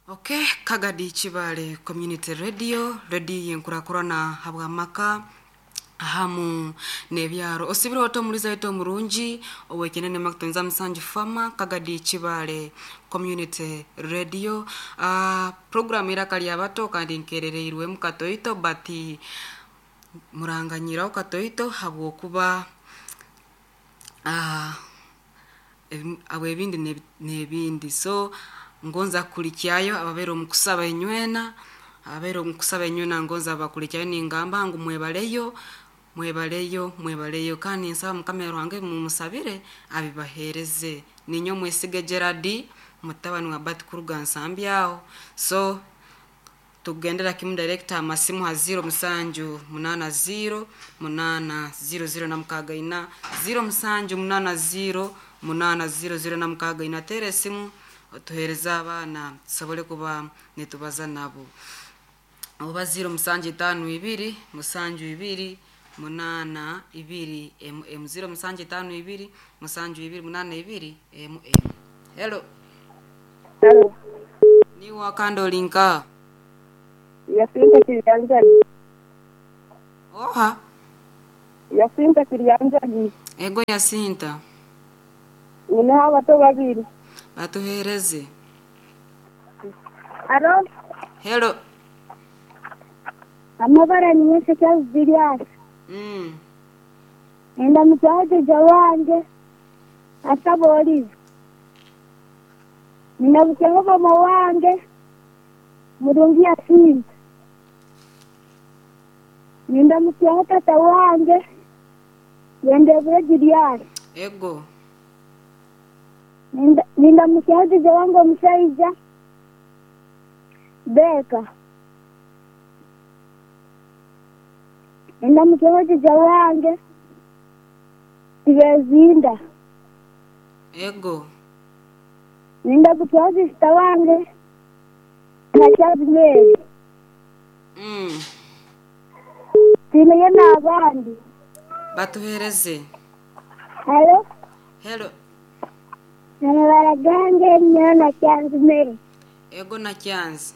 Ok, Kagadi Kibaale Community Radio, rediyo y'enkurakurana habw'amaka hamu n'ebyaro. Osibire ota omuliza waitu omurungi ow'ekinene Macton Zamusanju Farmer, Kagadi Kibaale Community Radio. Ah, program Eiraka Ry'abato kandi nkerereirwemu katoito but muranganyiraho katoito habw'okuba ah, Habw'ebindi n'ebindi. So ngonza kukulikyayo ababaire omu kusaba inywena, ababaire omu kusaba inywena ngonza bakulikyayo ningamba ngu mwebaleyo, mwebaleyo, mwebaleyo kandi ninsaba Mukama Ruhanga ebi mumusabire abibahereze. Ninyowe Mwesige Gerald mutabani wa Bart kuruga Nsambya aho. So Tukugendera kimu direct aha masimu ha ziiro musanju munaana ziiro munaana ziiro ziiro na mukaaga ina, ziiro musanju munaana ziiro munaana ziiro ziiro na mukaaga ina. Teera esimu otuheereze abaana tusobole kuba nitubaza nabo. Oba ziiro musanju itaano ibiri musanju ibiri munaana ibiri emu emu, ziiro musanju itaano ibiri musanju ibiri munaana ibiri emu emu. Hello. Hello. Niiwe akandi ori nkaha? Yasinta Kiryanjagi. Oha? Yasinta Kiryanjagi. Ego Yasinta. Nyineho abato babiri. Batuheereze. Alo. Hello. Amabara ni Nyenseke Julius. Nindamutsyaho jjaja wangye Asaba Olive. Nindamutsyaho maama wange Murungi Yasinta. Nindamutsyaho tata wange Bendebure Julius. Ego. Nindamutsyaho jjaja wange omushaija Baker. Nindamutsyaho jjaja wange Tibezinda. Ego. Nindamutsyaho sisita wange Nakyazi Mary. Twineyo n'abandi. Batuheereze. Haro. Hello. Amabara gange nyowe Nakyanzi Mary. Ego Nakyanzi.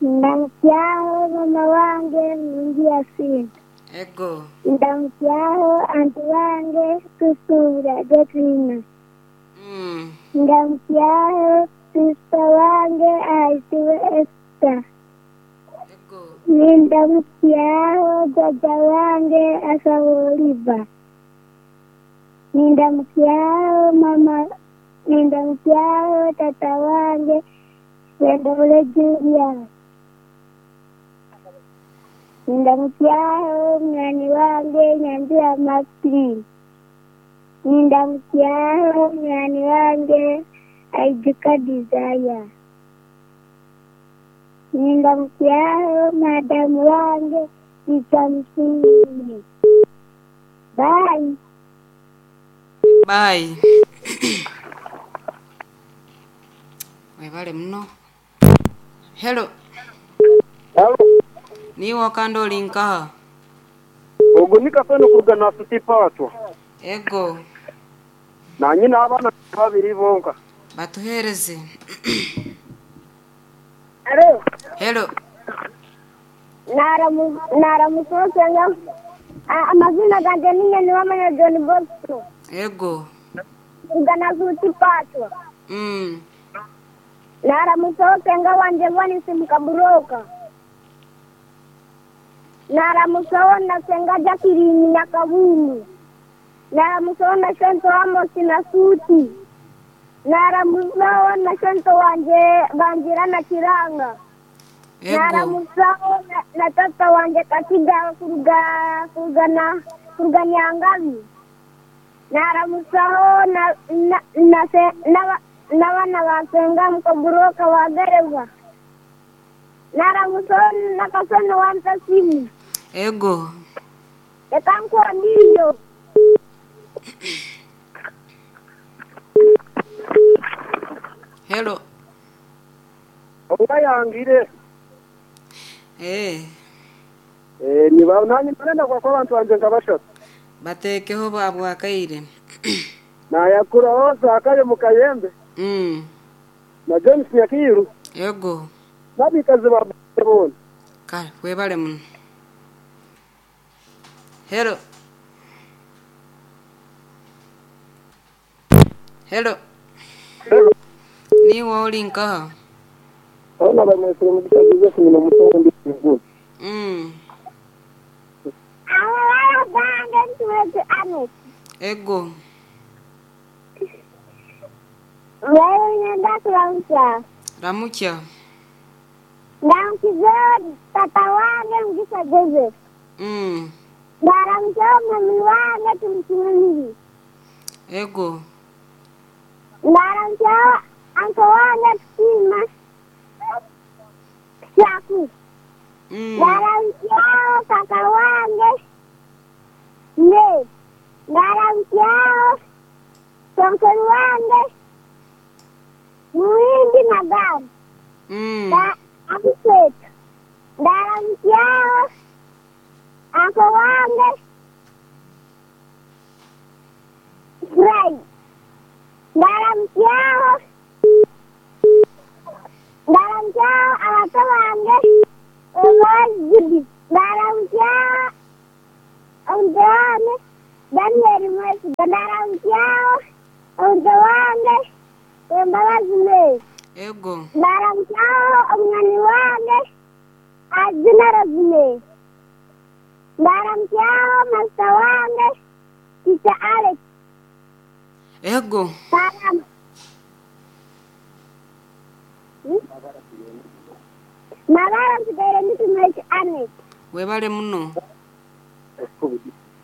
Ndamutsyaho mama wange Murungi Yasinta. Ego. Ndamutsyaho anti wange Tusuubira Getrina. Ndamutsyaho sisita wange ayetibwe Esther. Ego. Nindamutsyaho jjaja wange Asaba Oliver. Nindamutsyaho mama nindamutsyaho tata wange Sendobule Julius. Nindamutsyaho munywani wange Nyanjura Maxine. Nindamutsyaho munywani wange Aijuka Desire. Nindamutsyaho madamu wange Rita Musiime. Bye. Bye. Webale muno. Hello. Halo. Niiwe kandi ori nkaha? Ogu ni Kasano kuruga Nasuti Paatwa. Ego. Naanye n'abaana babiri bonka. Batuheereze. Haro. Hello. Naaramutsya Amazina gangye niinye Niwamanya John Bosco. Ego. Kuruga Nasuti Paatwa. Naaramutsaho senga wangye Vanisi Mukaburoka. Naaramutsaho na senga Jacqueline Nyakabungu. Naaramutsaho na shento Amos Nasuti. Naaramutsaho na shento wangye Bangira na Kiranga. Ego. Naaramutsaho na tata wangye Kakiga kuruga kuruga na kuruga Nyangabi. Naaramutsaho na na na na n'abaana ba senga Mukaburoka wa Gereva. Naaramutsaho na Kasono wa Ntasimu. Ego. Reka nkuhe ondiijo. Hello. Obu ayangire. Eeh. Eeh niba nanye narenda kuhakwa abantu bangye nka bashatu. Bateekeho bwakaire. Nayakuraho Zakayo Mukayembe na James Nyakiiru. Ego. N'abaikazi ba boona. Kale webale muno. Hello. Hello. Niiwe ori nkaha? Boona bamwesire Mugisha Joseph nyina omuto ndi Iguru. Amabara gange ntuweze Anet. Ego. Wewe nenda kuramutsa. Ramukya. Ndamukizeho tata wange Mugisha Joseph. Ndaramutseho mami wange Tumusiime. Ego. Ndaramutseho anko wange Tusiima Shaku. Ndaramutseho kaka wange Ne. Ndaramutseho sonkeri wange Muhindi Nagari. Abiseto. Ndaramutseho anko wange Fred. Ndaramutseho abato bange Emmanuel Judith. Ndaramutseho omuto wange Daniel Mwesiga. Ndaramutseho omuto wange Embabazi Mary. Ego. Ndaramutseho omunywani wange Azina Rosemary. Ndaramutseho masita wange Teacher Alex. Ego. Salam. Mabara nsigaire nditumweki Anet. Webale muno.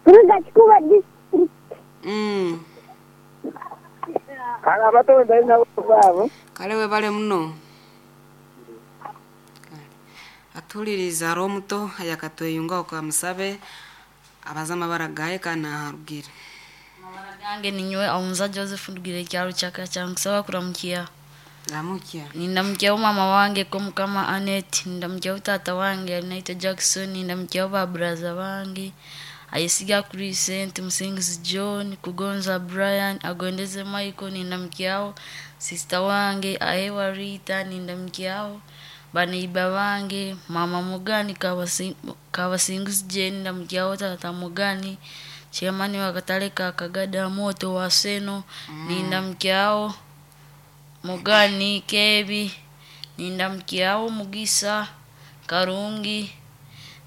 Kuruga Kikuba district. Kale abato bari nabo baabo. Kale webale muno. Kale. Atuliriza ari omuto ayakatweyunga okamusabe abaza amabara gaye kandi naharugire. Amabara gange ninyowe Aunza Joseph ndugire kyaro kyaka kyankusaba kuramukia. Ramukya. Nindamukiaho mama wange ko mukama Anet, nindamukiaho tata wange alinaitwa Jackson, nindamukiaho ba braza bange Ayesiga Crescent, Musingizi John, Kugonza Brian, Agondeze Michael, nindamukiaho sister wange Ahewa Rita, nindamukiaho baneiba bange mama Mugani Kabasingizi Jane, nindamukiaho tata Mugani chairman wa katale ka Kagada Moto wa Seno, nindamukiaho Mugani Kebi, nindamukiaho Mugisa Karungi,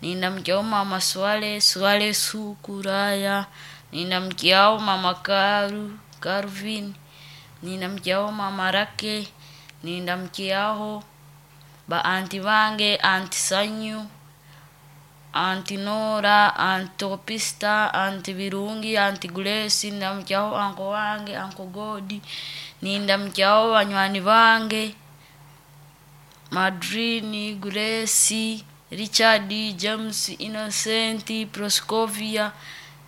nindamukiaho mama Swale Swale Sukuraya, nindamukiaho mama Karu Karvin, nindamukiaho mama Rake, nindamukiaho ba anti bange anti Sanyu, anti Nora, anti Opista, anti Birungi, anti Grace, nindamukiaho anko wange anko Godi, nindamukiaho banywani bange Madrini, Grace, Richard, James, Innocent, Proscovia,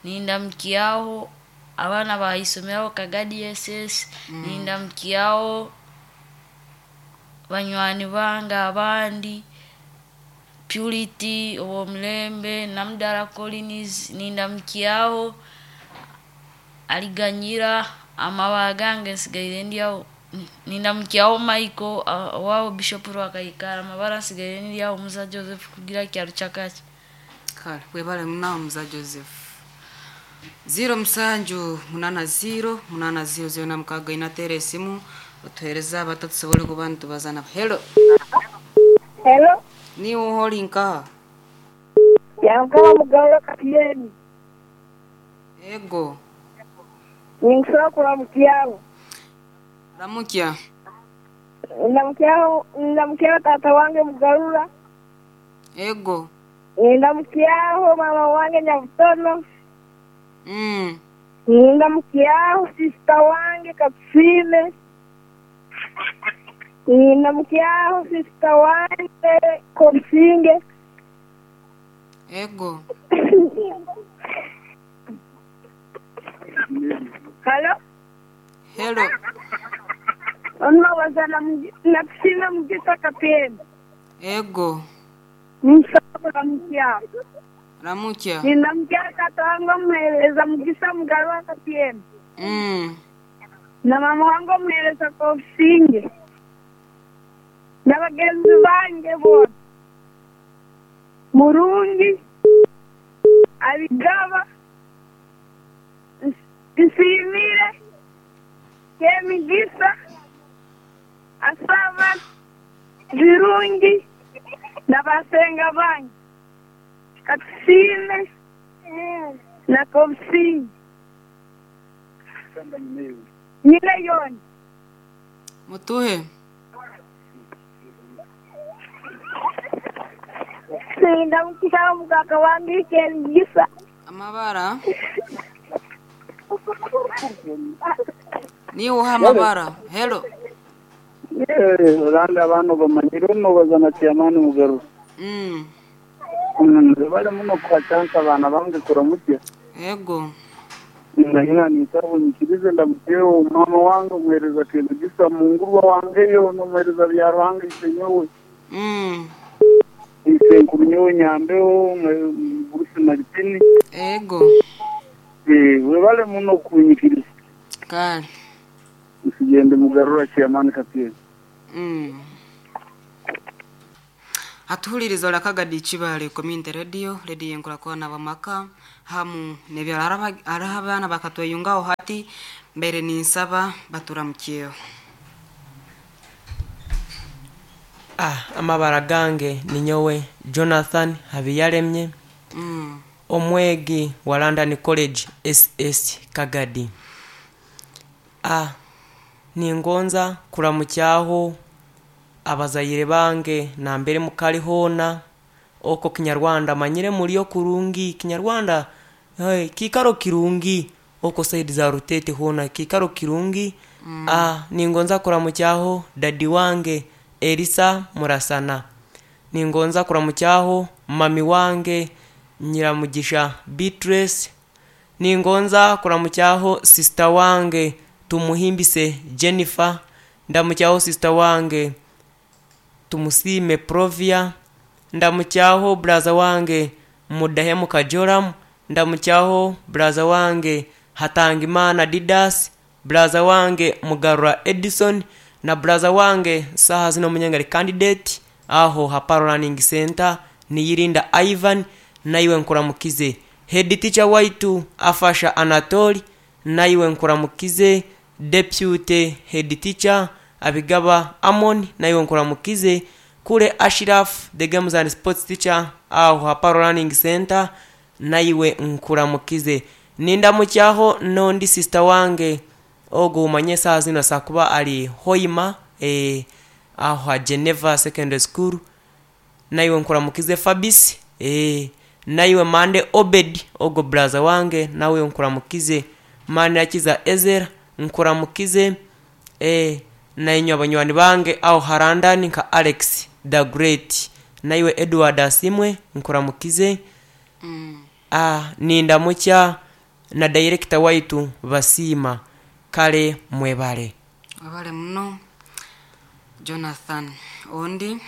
nindamukiaho abaana baisomeraho Kagadi SS, nindamukiaho banywani bange abandi Purity Owomulembe, Namdara Collins, nindamukiaho Aliganyira, amabara gange nsigaire ndyaho nindamukiaho Michael owaabo Bishop Rwakaikara, amabara nsigaire ndyaho Musa Joseph kugira kyaro kyakaki. Kale webale muno Musa Joseph. 07 80 80 06 tera esimu otuhereza abato tusobole kuba nitubaza nabo. Hello. Hello. Niiwe ori nkaha? Yankaba Mugarura Kapyeni. Ego. Ninkusaba kuramukiaho. Ramukya. Ndamukiaho tata wange Mugarura. Ego. Ndamukiaho mama wange Nyabutono. Ndamukiaho sister wange Katusime. Ndamukiaho sister wange Komusinge. Ego. Hello. Hello. Onowaza na Mugisa Kapyeni. Ego. Ninkusaba kuramukiaho. Ramukya. Nindamukiaho tata wange omuheereza Mugisa Mugarura Kapyeni. Na mama wange omuheereza Komusinge. Bagenzi bange boona. Murungi, Abigaba, Nsiimire, Kemigisa, Asaba, Birungi na basenga bange. Katusiime na Kobusinge. Nyine yoona. Mutuhe. Nindamukisa omukaka wange Kemigisa. Amabara. Niwe oha amabara. Hello. Olandi abaana bamanyire omubaza na chairman Mugaru. Bale muno kuha chance abaana bange kuramutya. Ego. Ndahina ninsaba onyikirize ndamutyeho mama wange omuhereza Kemigisa mungurwa wange yo n'omuhereza Byaruhanga Isenyowe. Isenkuru nyowe Nyambeho Bruce Martini. Ego. Webale muno kunyikiriza. Kale. Nsigende Mugarura chairman Kapyeni. Atuhuliriza olakagadi Kibale Community Radio, radio enkurakurana bamaka hamu nebyaro hariho abaana bakatweyungaho hati mbere ninsaba baturamukyeho. Amabara gange ninyowe Jonathan Habiyaremye, omwegi wa London College SS Kagadi. Ningonza kuramukyaho abazaire bange nambere mukali hoona oko Kinyarwanda manyire muriyo kurungi Kinyarwanda hey, kikaro kirungi oko saidi za Rutete hoona kikaro kirungi. Ningonza kuramukyaho dadi wange Elisa Murasana, ningonza kuramukyaho mami wange Nyiramugisha Beatrice, ningonza kuramukyaho sister wange Tumuhimbise Jennifer, ndamukyaho sister wange Tumusime Provia, ndamukyaho braza wange Mudahemuka Joram, ndamukyaho braza wange Hatangimana Didas, braza wange Mugarura Edison na braza wange saha zino munyangari candidate aho Haparo Learning Center Niyirinda Ivan, naiwe nkuramukize. Head teacher waitu Afasha Anatoli, naiwe nkuramukize. Deputy head teacher Abigaba Amon, naiwe nkuramukize. Kule Ashraf the games and sports teacher aho Haparo Learning Center, naiwe nkuramukize. Nindamukyaho nondi sister wange ogo umanye saha zino sakuba ali Hoima aho ha Geneva Secondary School, naiwe nkuramukize. Fabis naiwe Mande Obed ogo braza wange, nawe nkuramukize. Manirakiza Ezera nkuramukize. Nainywe abanywani bange aho Harandani nka Alex the Great, naiwe Edward Asimwe nkuramukize. Nindamukya na director waitu Basiima kale mwebale. Webale muno Jonathan. Ondi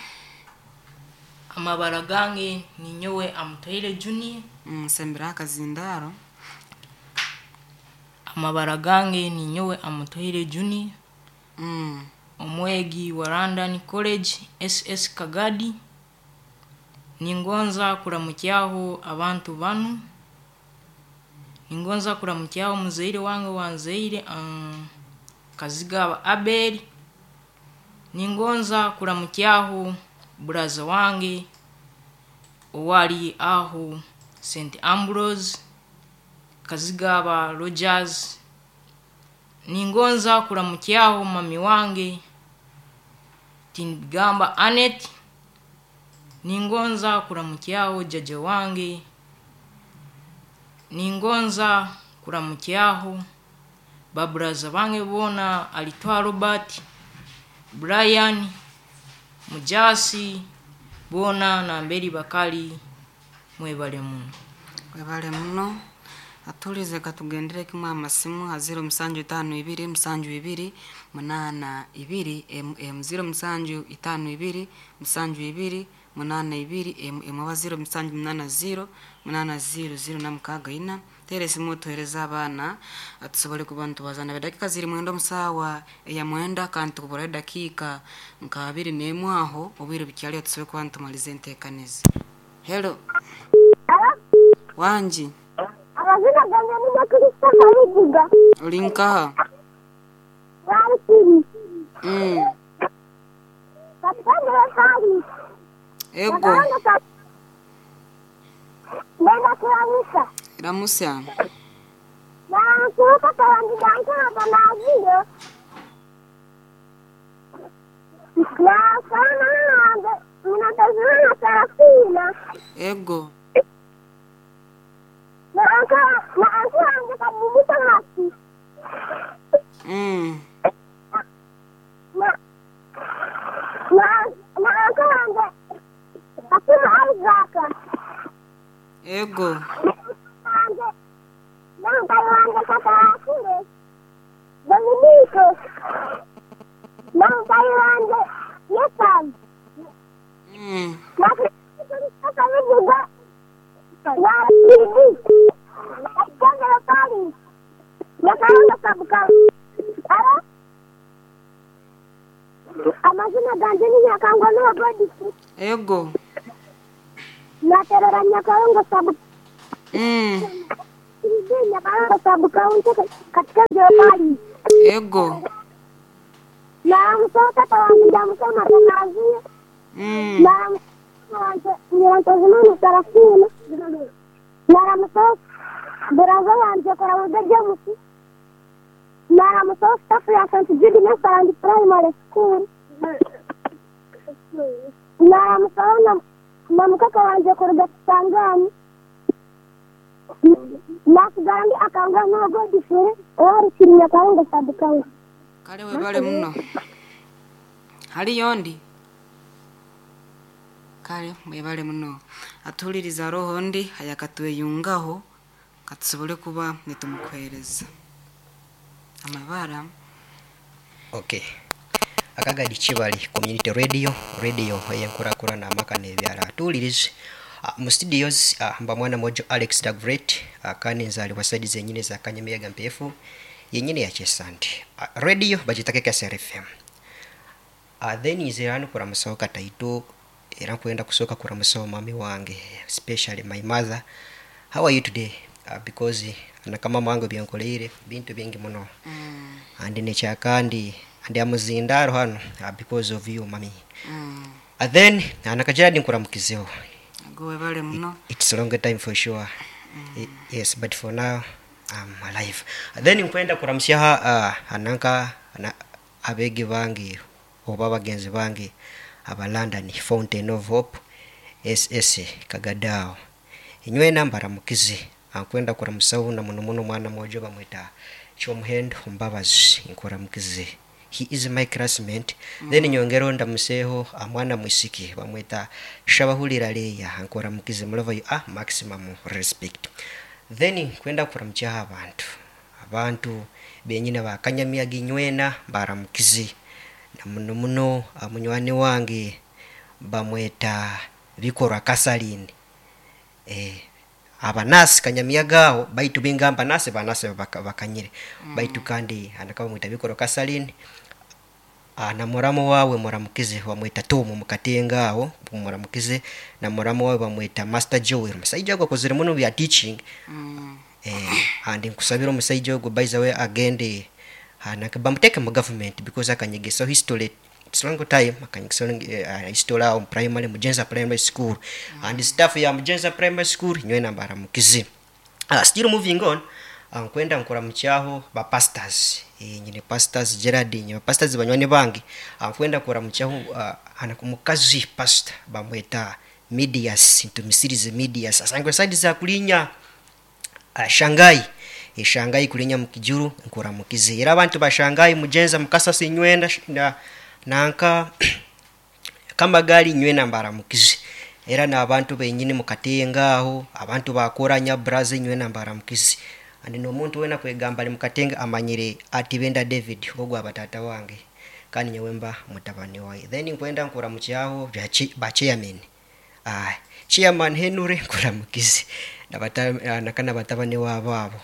Amabara gange ninyowe Amutoire Junior. Nsembera akazindaro. Amabara gange ninyowe Amutoire Junior. Omwegi wa London College SS Kagadi. Ningonza kuramukyaho abantu banu. Ningonza kuramukyaho muzaire wange wanzaire Kazigaba Abel. Ningonza kuramukyaho buraza wange owali aho St Ambrose Kazigaba Rogers. Ningonza kuramukyaho mami wange Tinigamba Anet. Ningonza kuramukyaho jaja wange. Ningonza kuramukyaho baburaza bange bona alitwa Robert, Brian, Mujasi bona namberi bakali mwebale muno. Webale muno. Atulize katugendere kimwe amasimu ha 0752 72 82 mm 0752 72 82 mm oba 0780 80 0 na mukaaga ina Teera esimu otuhereze abaana, tusobole kuba nitubaza nabo. Edakiika ziri mwenda omu saawa eya mwenda kandi tukuburaho edakiika nka abiri n'emwe aho, obwire bukyariho tusobole kuba nitumaliza enteekaniza. Hello. Wangi. Amazina gange ninye Christopher Rujuga. Ori nkaha? Rwarukiri. Katutandire Paris. Ego. Ndenda kuramusa. Ramusya. Naramukire tata wange Dankaraga naziire. Naramusaho na mama wange Munatazimana Sarafina. Ego. Na uncle na uncle wange Kabugu Thomas. Na na na uncle wange Kakuma Isaac. Ego. Na wange na mutaahi wange Katarakire Dominiko. Na mutaahi wange Yesan. Na Christopher Rujuga. Rwarukiri. Ekitongole Paris. Nyakarongo Sub-County. Aro? Amazina ganje ni Nyakangwa Noah Godfrey. Ego. Naterera Nyakarongo Sub Nyakarongo Sub-County katika Paris. Ego. Naramutsa tata wange ndamusoma Tanaziya. Naramutsa Nyirantazimana Sarafina. Naramutsa buraza wanje Koramuga James. Naramutsa staff ya St. Jude Nursery Primary School. Naramutsa na na mukaka wanje kuruga Kisangani. Nasigara ndi Akangwa Noah Godfrey owarukiri Nyakarongo Sub-County. Kale webale muno. Hariyo ndi? Kale mwebale muno. Atuhuririza roho ndi ayakatweyungaho katusobole kuba nitumukuhereza. Amabara. Okay. Akagadi Kibali Community Radio, radio eyenkurakurana amaka n'ebyala. Tuwulirize mu studios mba mwana mojo Alex the Great, kandi nzaalibwa saidi zenyini za Kanyamiyaga Mpeefu yenyini ya Kyesante. Radio bagiyita KKSR FM. Then nze hano kuramusaho kataito era nkwenda kusooka kuramusaho mami wange, especially my mother. How are you today? Because nakama wange byankoleire bintu bingi muno. And nekyakandi and amuzindaro hano because of you mami. Then nakajiradi nkuramukizeho. Ago webale muno. It's a long time for sure. Yes, but for now I'm alive. Then nkwenda kuramusyaha ananka ana, abegi bange oba bagenzi bange aba London Fountain of Hope SS Kagadao. Inywena mbaramukize. Ankwenda kuramusaho na muno muno mwana mwojo bamwita Kyomuhendo Mbabazi nkuramukize. He is my classmate. Then nyongero ndamuseho amwana mwisiki bamwita Shabahulira Leya nkuramukize mulova you are maximum respect. Then kwenda kuramukyaho abantu. Abantu benyine bakanyamiyaga inywena baramukize. Na muno muno munywani wange bamweta Bikorwa Kasalini. Abanasi kanyamiyaga aho baitu bingamba nasi banasi bakanyire. Baitu kandi anakaba mwita Bikorwa Kasalini. Na muramu wawe muramukize bamwita Tom mukatenga aho muramukize, na muramu wawe bamwita Master Joel. Musaija ogwo akozire muno bya teaching. And nkusabira omusaija ogwo by the way agende bamuteke mu government because akanyegesa history. It's long time akanyegesa history aho primary Mugenza Primary School. And staff ya Mugenza Primary School nywena mbaramukize. Still moving on. Nkwenda nkuramukyaho ba pastors. Nyine pastors Gerard, nyine pastors banywani bange. Nkwenda kuramukyaho ana kumukazi pastor bamweta Medias, ntumisirize Medias. Asangwe side za kulinya Shanghai. Shanghai kulinya mukijuru nkuramukize. Era abantu ba Shanghai Mugenza mukasa sinywenda na nanka kamagali nywena mbaramukize. Era n'abantu benyini mukatenga aho abantu bakoranya braze nywena mbaramukize. And n'omuntu wena kwegamba ali mukatenga amanyire ati benda David ogwo abatata wange kandi nyewe mba mutabani waye. Then nkwenda nkuramukyaho ba chairman. Chairman Henry nkuramukize. Naka na batabani wabo abo.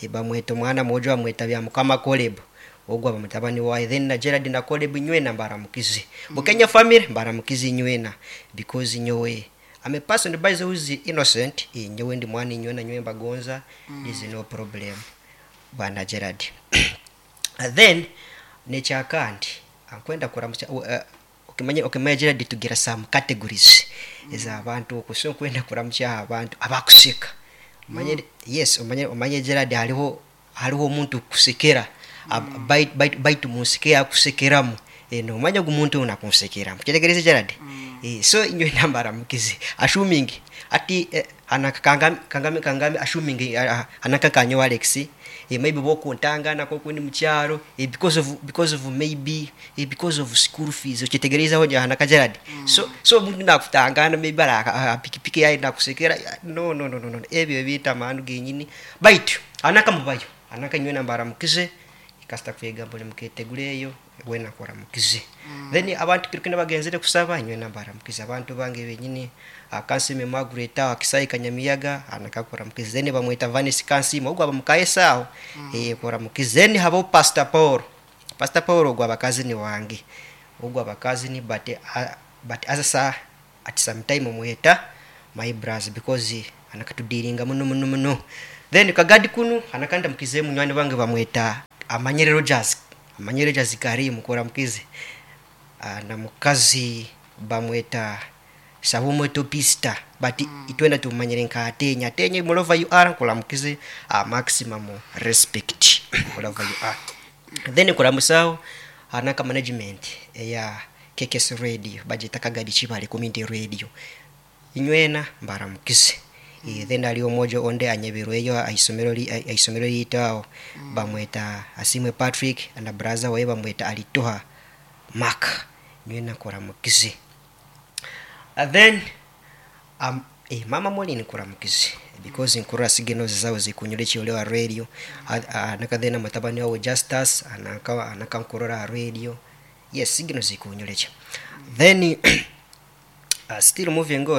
Bamweta omwana mwojo bamweta bya mukama Caleb, ogwo aba mutabani waye. Then na Gerard na Caleb nywena mbaramukize. Bukenya family mbaramukize nywena, because nyowe I'm a person by the who is innocent. Nyowe ndi mwana nywena, nyowe mbagonza. Is no problem, bwana Gerard. And then nekyakandi ankwenda kuramukya, okimanya Gerard, tugira some categories ez'abantu oku. So nkwenda kuramukya abantu abakuseka. Omanye, yes, omanye Gerard, hariho omuntu kusekera, baitu munseke yakusekeramu, nomanya ogu muntu nakunsekeramu. Kyetegereze Gerard. So inywe nambaramukize, assuming ati hanaka kangame assuming hanaka kanyo Alex, maybe bokuntangana kokundi mukyaro, because of maybe, because of school fees. Okyetegerezeho hanaka Gerard. So omuntu nakutangana maybe ara pikipiki yaye nakusekera, no, no, no, no, no, ebyo ebintu amanu genyini. Baitu hanaka mubayo hanaka nywe nambaramukize, kasita kwegamba muketeguleyo wena kuramukize. Then abantu kirukina bagenzere kusaba, nywe nambaramukize abantu bange benyini. Kansime Margaret aho Kisai Kanyamiyaga anakakuramukize. Then bamweta Vanis Kansime, ogwo aba mukaesa aho, kuramukize. Then habo Pastor Paul, Pastor Paul ogwo abakazini wange, ogwo abakazini, but as a at some time mweta my brothers, because anakatudiringa muno muno muno. Then kagadi kunu anakanda mukize munywani wange bamweta Amanyere Rogers, Amanyere Rogers Karim, kuramukize. Na mukazi bamweta Sabumwetopista, but itwenda tumanyire nka Atenya. Atenya mulova you are, nkulamukize, maximum respect mulova you are. Then kulamusawo anaka management eya KKS Radio, bagita Kagadi Chibale Community Radio, inywena mbaramukize. Then ali omojo onde anyebirweyo aisomero liyitawo, bamweta Asimwe Patrick na brother waye bamweta Alitoha Mark, nywena kuramukize. Then mama Molini kuramukize, because nkurora signals zawe zikunyura ekyolewa radio. Naka then mutabani wawe Justus anaka nkurora radio, yes, signals zikunyura. Then still moving on.